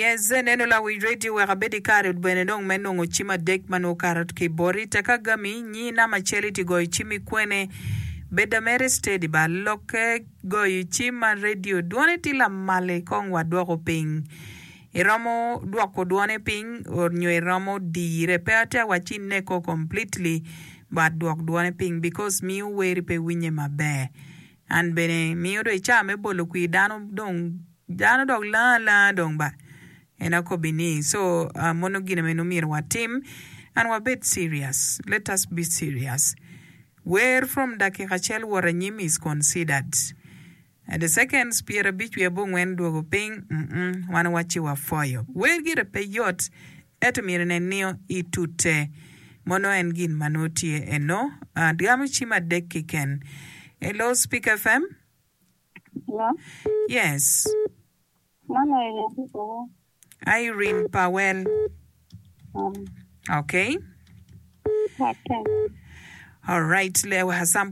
Yes, neno lawic radio wek abed i kare bene dong me nongo cim adek ma nongo okato ki boti. Tek agami, nyi namba acel iti goyo cim i kwene. Beda mere steady ba. Lokke goyo cim ma radio dwone tye lamal kong wadwoko piny. Iromo dwoko dwone piny nyo iromo dire. Pe atye awacci ineko completely but dwok dwone piny because miyo weri pe winye maber. An bene miyo dong i caa me bolo kwir dano dong dano dok lango alanga dong ba en akobi ni so mono gine meno myero watim and wabed serious let us be serious wer from dakika acel wot anyim is considered and the seconds 50 wiye abongwen dwogo piny mm wan wacci wapwoyo wer gire pe yot Ento myero inen nio i tute. Mono en gin ma nongo tye eno. Gamo cim adek kiken. Hello Speak FM. Hello. Yes. Man Irene ki Powell. Irene Powell. Um. Okay. What time? All right.